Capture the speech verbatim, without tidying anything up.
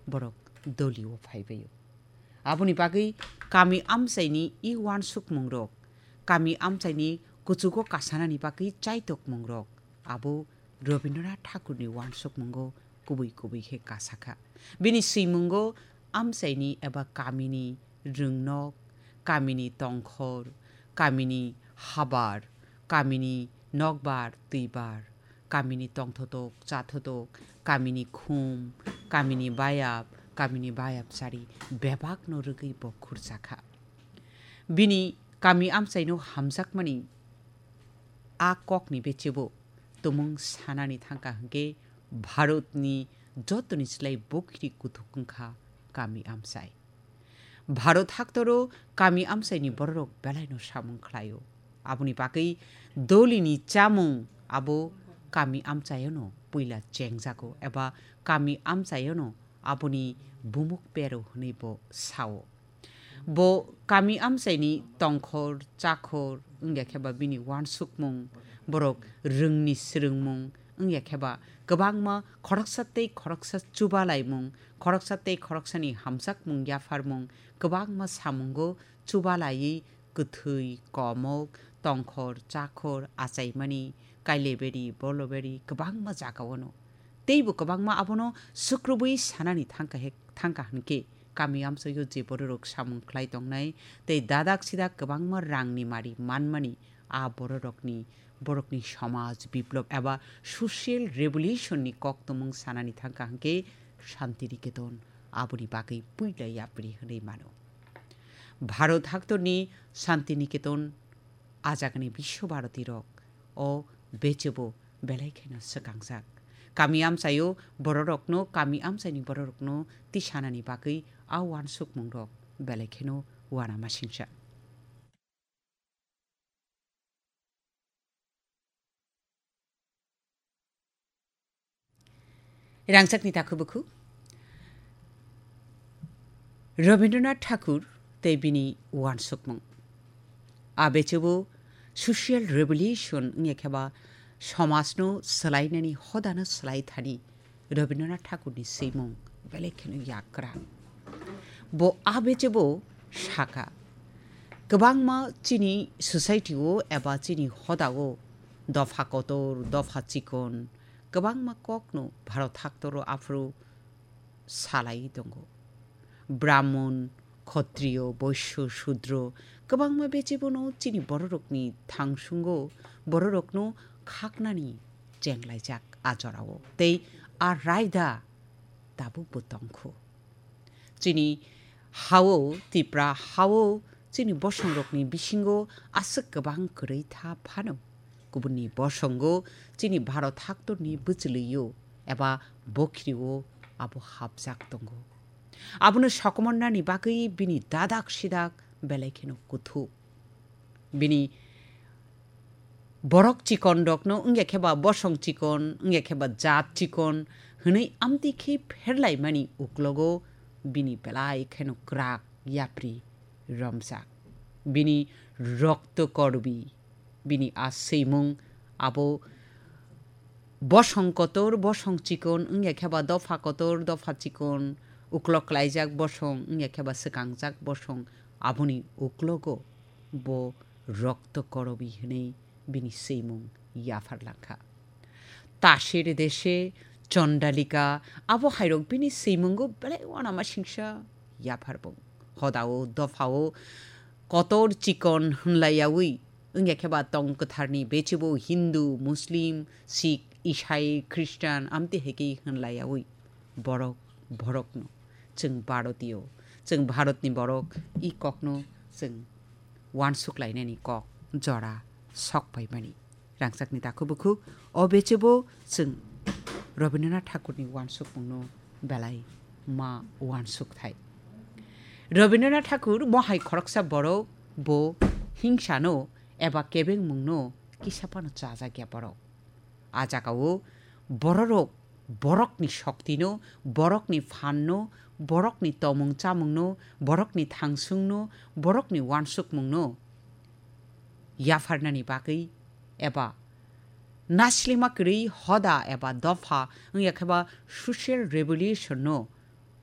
borok dolio phaibaio. Aboni bagwi kami amchaini i uansukmungrok, kami amchaini kuchugo kasanani bagwi chaitokmungrok, abo Rabindranath Thakurni uansukmungo kubui kubui khe kasakha. Bini swimungo amchaini eba kamini rwngnok, kamini tongkhor, kamini habar, kamini nokbar, twibar, kamini tongthotok, chathotok, kamini khum, kamini bayap, kamini bayapchari bebakno rwgwi bo khurchakha. Bini kami amchaino hamjakmani a kokni bechebo tumung sanani thangkha hwnkhe Bharatni jotoni slai bokhiri kuthuk wngkha kami amchai. Bharat haktoro kami amchaini bororok belaino samung khlaio. Aboni bagwi dolini chamung abo kami amchaiono puila chengjago eba kami amchaiono aboni bumuk pero hwnwi bo sao. Bo kami amchaini tongkhor, chakhor, wngya khe ba bini uansukmung, borok rwngni swrwngmung, wngya khe ba kwbangma khoroksa tei khoroksa chubalaimung, khoroksa tei khoroksani hamjakmung yapharmung, kwbangma samungo chubalaiwi kwthwi, komok, tongkhor, chakhor, achaimani, kaileberi, boloberi, kwbangma jagao no. Teibo kwbangma abono sukrubwi sanani thangkha he-, thangkha hwnkhe, kami amchaio je bororok samung khlai tongnai tei dadak sidak kwbangma rangni mari manmani, a bororokni, borokni somaj biplob eba social revolution ni koktomung sanani thangkha hwnkhe Shanti Niketan aboni bagwi puila yapri hwnwi mano. Bharat haktorni Shanti Niketan ajagani Biswa Bharati rok o bechebo belai kheno swkangjak. Kami amchaio bororokno, kami amchaini bororokno tisanani bagwi a uansukmungrok belai kheno uanamasingcha. Rangchakni takhuk bukhuk Rabindranath Thakur tei bini uansukmung. A bechebo social revolution wngya khe ba somajno swlainani hodano swlai thani Rabindranath Thakurni swimung belai kheno yakra. Bo a bechebo saka, kwbangma chini society-o eba chini hodao dopha kotor, dopha chikon, kwbangma kokno Bharat haktoro aphuru salai tongo. Brahmon, Khotriyo, Boisyo, Sudro, kwbangma bechebono chini bororokni thangsungo bororokno khaknani chenglaijak a jorao. Tei a raida tabukbo tongkhu. Chini hao, Tipra hao, chini bosongrokni bisingo aswk kwbang kwrwi tha phano. Kubunni bosongo chini Bharat haktorni bwchwlwio eba bokhirio abo hapjak tongo. Abono sokomornani bagwi bini dadak sidak belai kheno kuthu. Bini borok chikon rokno wngya khe ba bosong chikon, wngya khe ba jat chikon hwnwi amtwi khe pherlaimani uklogo bini belai kheno kwrak yapri romjak. Bini rokto korbi, bini a swimung abo bosong kotor, bosong chikon, wngya khe ba dopha kotor, dopha chikon, uklok klaijak bosong, wngya khe ba swkangjak bosong, aboni uklogo bo rokto korobi hwnwi bini swimung yaphar langkha. Tasir dese, Chondalika, abo hairok bini swimungo belai uanama singsa yaphar bo. Hodao, dophao, kotor chikon hwnlaiyawi, wngya khe ba tong kwtharni bechebo Hindu, Muslim, Sikh, Isai, Khristan, amtwi hai khe hwnlaiyawi borok, borokno. Chwng Bharotiyo, chwng Bharatni borok, i kokno chwng uansuk lainani kok jora sok paimani. Rangchakni takhuk bukhuk, o bechebo chwng Rabindranath Thakurni uansukmungno belai ma uansuk thai. Rabindranath Thakur mohai khoroksa borok, bo hingsano eba kebengmungno kisa phano chajakya borok. A jagao bororok borokni shoktino, borokni phanno, borokni tomung chamungno, borokni thangsungno, borokni uansukmungno yapharnani bagwi eba naslima kwrwi hoda eba dopha wngya khe ba social revolution no